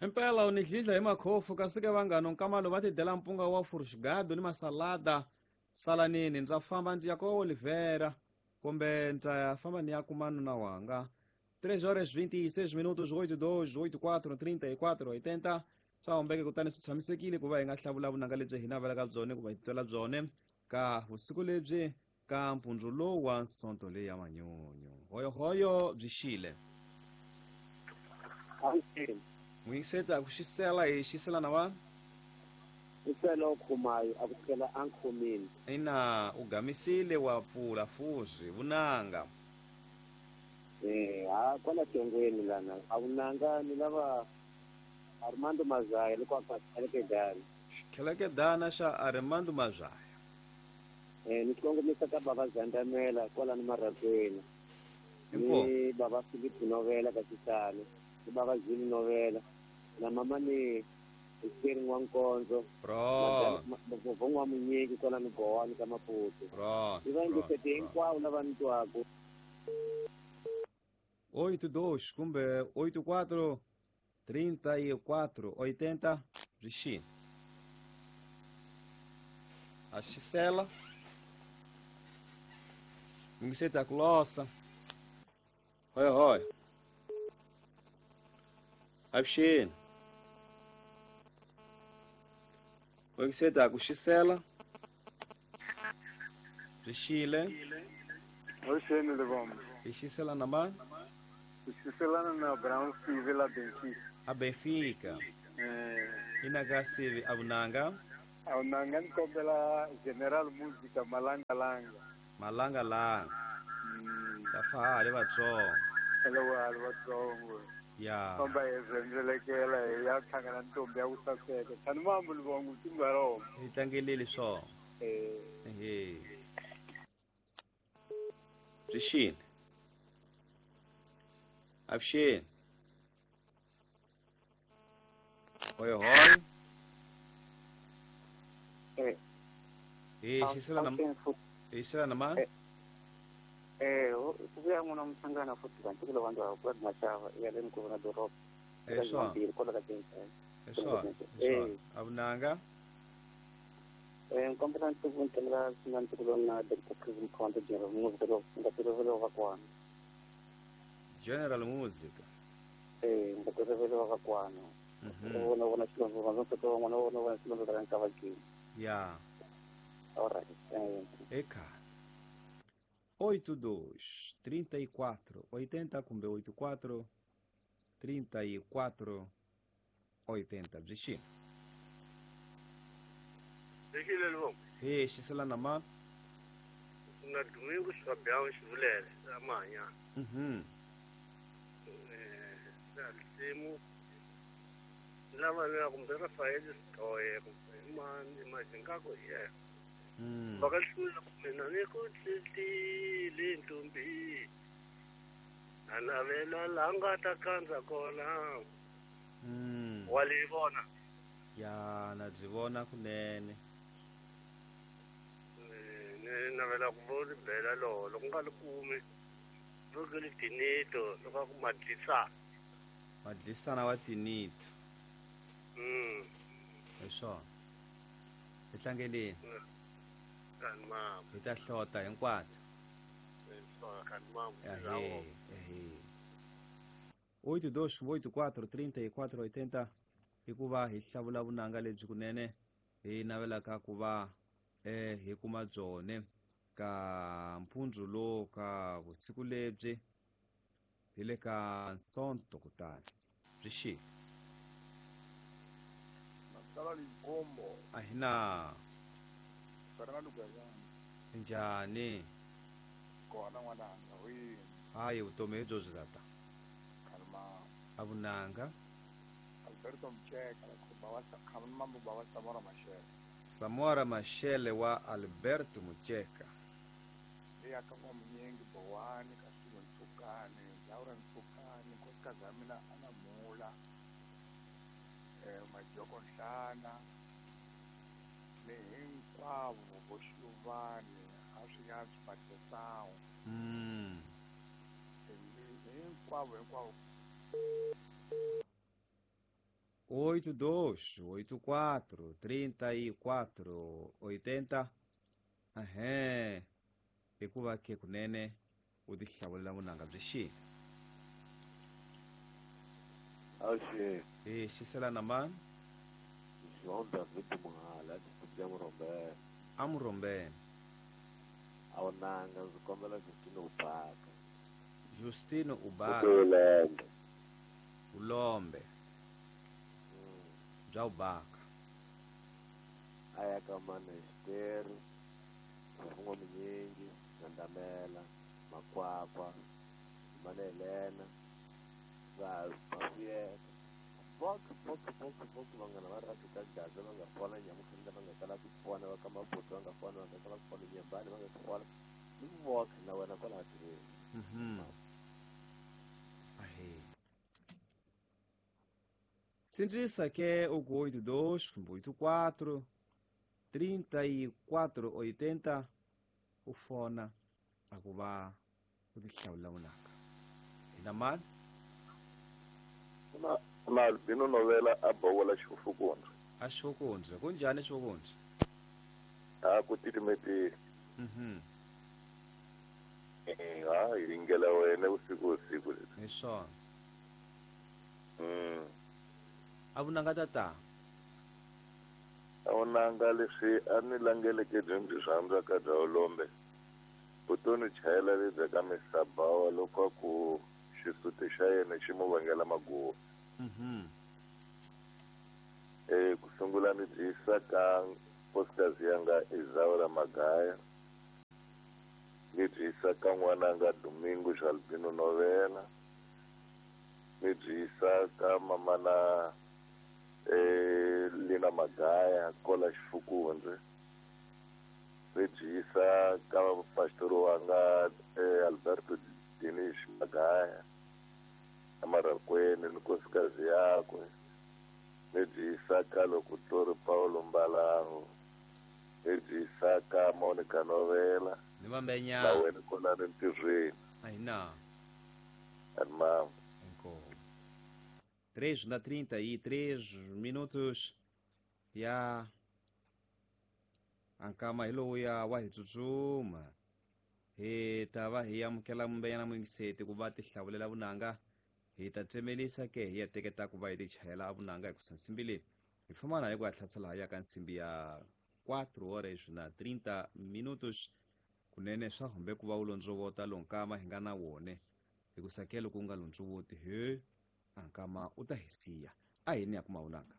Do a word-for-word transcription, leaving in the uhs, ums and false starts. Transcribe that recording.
Impela u ni dlidla hi makhofu kasi ke vanghana nkamalo va tidela mpunga wa furusgado ni masalada salanini ndza famba ndzi ya ko Oliveira kumbe ndza ya famba ni ya kuma nuna wanga. três horas vinte e seis minutos, oito dois, oito quatro, trinta e quatro, oitenta. Swa humbeke kutani swi tshamisekile ku va hi nga hlavula vunanga lebyi hi navelaka byone ku va hi twela byone ka vusiku lebyi ka mpundzu lowu wa Sonto leyi ya manyunyu. Hoyohoyo byi xile. Muyingiseta ku xisela hi xisela na wa? Isela ukhumayo akusukela ankhomini. Ina u gamisile wa pfula fuzi vunanga. Eh, ha kwala tongweni lana a vunanga ni lava Armando Mazaya loko a kheleke. Kheleke dana xa Armando Mazaya. Eh, ni kongomisa ka baba Zandamela kwala ni Marakweni. Ni baba Philip Novela ka Xisalo, ni baba Zulu Novela na mama ni Esther Nwankonzo. Bro. Baba wa Munyeki kwala ni Gowani ka Maputo. Bro. Ni va ndzi hinkwavo lava ni twaka. oito dois kumbe oito quatro trinta e quatro oitenta byi a xisela mingiseta kulosa hoy hoy avuxeni mingiseta ku xisela byi xile avuxeni Lebombo hi xisela na mani xiselana na Brown Steve la Benfica. A Benfica. Eh. Ina ka Sivi avunanga. Avunanga ni kombela General Musica Malanga Langa. Malanga Langa. Mm. Ta fa le vatsongo. Hello wa vatsongo. Ya. Komba ezendlelekela ya hlangana ntombi ya ku saseka. Tani mambo Lebombo timbaro. Hi tlangelele swona. Eh. Ehe. Byi avuxeni hoyohoyo eh hi xisela na hi xisela na mani eh ku vuya n'wana muhlangana futhi kanti kulo vanhu va ku mashava ya le mukuru na doroba eh swona eh swona eh avunanga eh nkombela ntuku ntela sina ntuku na Doctor Chris Mkhonto General Music lo ngatirovelo va kwana General Music. Eh, ngatirovelo va kwana. Vona vona xilondzo va ndzi to vona vona vona xilondzo ra nkavakini. Ya. All right. Eka. oito dois, trinta e quatro, oitenta kumbe oito quatro, trinta e quatro, oitenta. Byi xile. Byi xile Lebombo. He, xisela na mani? Na Domingo Fabião Xivulele, amanya. Mhm. Simu lava ni kumbe Rafael Sitoye kumbe mani Mazingako ye. Mm. Vakahlula mina ni ku tlilile ntombi. A navela la nga ta kandza kona. Mm. Wa li vona. Ya na byi vona kunene. Ni navela ku vo bela lolo loko nga li kumi. Loko li tinito loko ku madlisa. Madlisana wa tinito. Mm. Hi swona. Hi tlangeleni. Kanti mama. Hi ta hlota hinkwato. Kanti mama. Ehe, ehe. oito dois, oito quatro, trinta e quatro, oitenta hikuva hi hlavula vunanga lebyi kunene hi navelaka ku va eh hi kuma byone ka mpundzu lowu ka vusiku lebyi hi le ka Nsonto kutani byi xile. Masala Likombo. A hi na Fernando Gayana. Njhani? Kona n'wananga wihi? Hayi vutomi hi byo byi tata. Kalma. A vunanga. Alberto Mcheka la kuba wa mambo baba Samora Machel. Samora Machel wa Alberto Mcheka. Ya ka Munyingi Bowani ka Silo Ntsukani, Laura Ntsukani, nkosikazi ya mina Ana Mula, eh Majoko Nhlana, ni hinkwavo vo Xiluvani, a swi ya swi Matesawu. Mm. Hinkwavo hinkwavo. oito dois, oito quatro, trinta e quatro, oitenta. Aham. Hikuva ke kunene u tihlawulela vunanga byi xini? Awuxi. E xiselana mani? João David Muhala, distrito ya Murombeni. A Murombeni. A vunanga ndzi kombela Justino Ubaka. Justino Ubaka. Ulombe. Ulombe. Bya Ubaka. A ya ka Manesteri, Mfungo Minyingi, Gandamela, Makwakwa, Manelena, va Mafiyeka. Vok, vok, vok, vok, vanghana va rhasi ka gaza va nga fona nyamukhenda va nga kala ku fona va ka mabuto va nga fona va nga kala ku fona nyambani va nga fona ni vok na wena kwala tirheni. Mhm. Ahe. Sintrisa ke o oito dois, oito quatro, trinta e quatro, oitenta u fona a ku va u tihlawulela vunanga. Hina mani? Na na Albino Novela a bola xifukundza. A xifukundza. Kunjhani xifukundza? A ku titimetile. Mhm. Eh, ha yi ringela wena usiku usiku. Hi swona. Mm. A vunanga tata. A vunanga leswi a ni langeleke byi ndzi rhandza ka bya Ulombe. Vutomi chayela lebyi ka misabawa loko ku xisuti xa yena xi mu vangela maguva. Mhm. Eh ku sungula ni byi yisa ka nkosikazi yanga Isaura Magaya. Ni byi yisa ka n'wananga Domingo Albino Novela. Ni byi yisa ka mamana eh Lina Magaya kola Xifukundze. Ni byi yisa ka pastor wanga eh, Alberto Dinish Magaya amarakwene ni nkosikazi yakwe. Ni byi yisa ka lokutori Paulo Mbalango. Ni byi yisa ka Monica Novela. Ni vambenya. Na wena kona ri ntirhweni. Ahina. Armam. Inkomu. três na trinta e três minutos ya ankama hi lowuya wa hi tsutsuma hi ta va hi amukela mumbenyana muyingiseti ku va tihlawulela vunanga hi ta tsemelisa ke hi ya teketa ku va hi ti chayela vunanga hi kusa nsimbi leyi hi famba na hi ku ya hlasela ya ka nsimbi ya quatro horas na trinta minutos kunene swa humbe ku va u londzovota lonkama hi nga na wone hi ku sakelo ku nga londzovoti he ankama u ta hi siya a hi ni ya kuma vunanga.